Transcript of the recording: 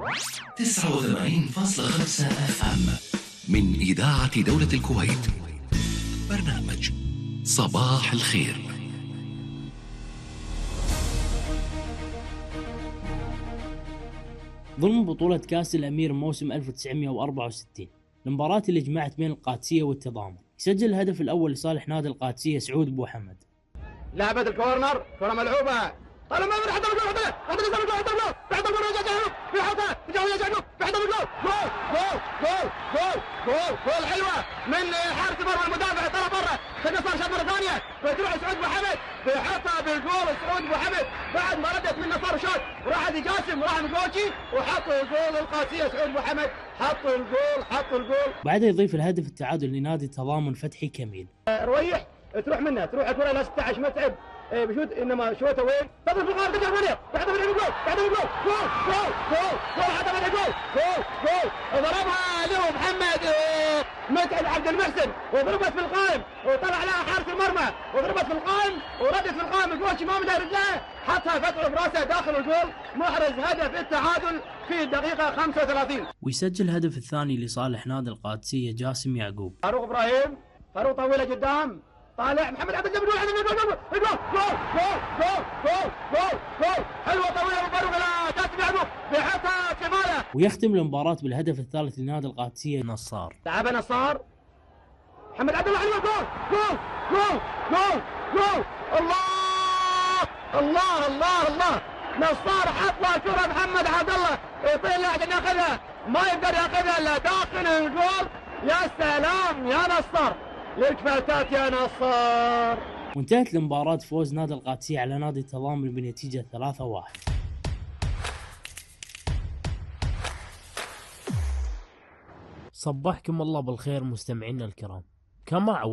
89.5 FM من إذاعة دولة الكويت. برنامج صباح الخير. ضمن بطولة كأس الأمير موسم 1964 المباراة اللي جمعت بين القادسية والتضامن، يسجل الهدف الأول لصالح نادي القادسية سعود بوحمد. لعبة الكورنر، كرة ملعوبة، طالما من حتى الجول، حتى الجول، حتى الجول، بعد الجول رجع جنوب، بيحطها، تجاوز جنوب، بعد الجول، جول جول جول جول جول جول حلوة من حارس المرمى المدافع طلع برا، تقصر شوط مرة ثانية، بتروح سعود بوحمد، بيحطها بالجول سعود بوحمد، بعد ما ردت من نصار شوط، وراح دي جاسم وراح مقوشي وحطوا الجول القادسية سعود بوحمد، حطوا الجول. بعدها يضيف الهدف التعادل لنادي التضامن فتحي كميل. رويح تروح منها، تروح الكرة ل 16 متعب بشوت، انما شوتها وين؟ تضرب في الغار، تجي ثمانية، بعد ما الجول، جول حتى بعد الجول، جول ضربها له محمد متعب عبد المحسن، وضربت في القائم، وطلع لها حارس المرمى، وضربت في القائم، وردت في القائم، الجول ما مدها رجلها، حطها فتحه براسه داخل الجول، محرز هدف التعادل في الدقيقة 35. ويسجل الهدف الثاني لصالح نادي القادسية جاسم يعقوب. فاروق ابراهيم، فاروق طويلة قدام، طالع محمد عبد الجبار، جول حلوه طويله من فاروق الى جاسم يعقوب، بيحطها شماله. ويختم المباراة بالهدف الثالث لنادي القادسية نصار. لعبها نصار، محمد عبد الله حلوه، جول الله نصار حطها كره محمد عبد الله يطير عشان ياخذها، ما يقدر ياخذها الا داخل الجول. يا سلام يا نصار، لك فاتات يا نصار. وانتهت المباراة فوز نادي القادسية على نادي التضامن بنتيجة 3-1. صبحكم الله بالخير مستمعينا الكرام. كما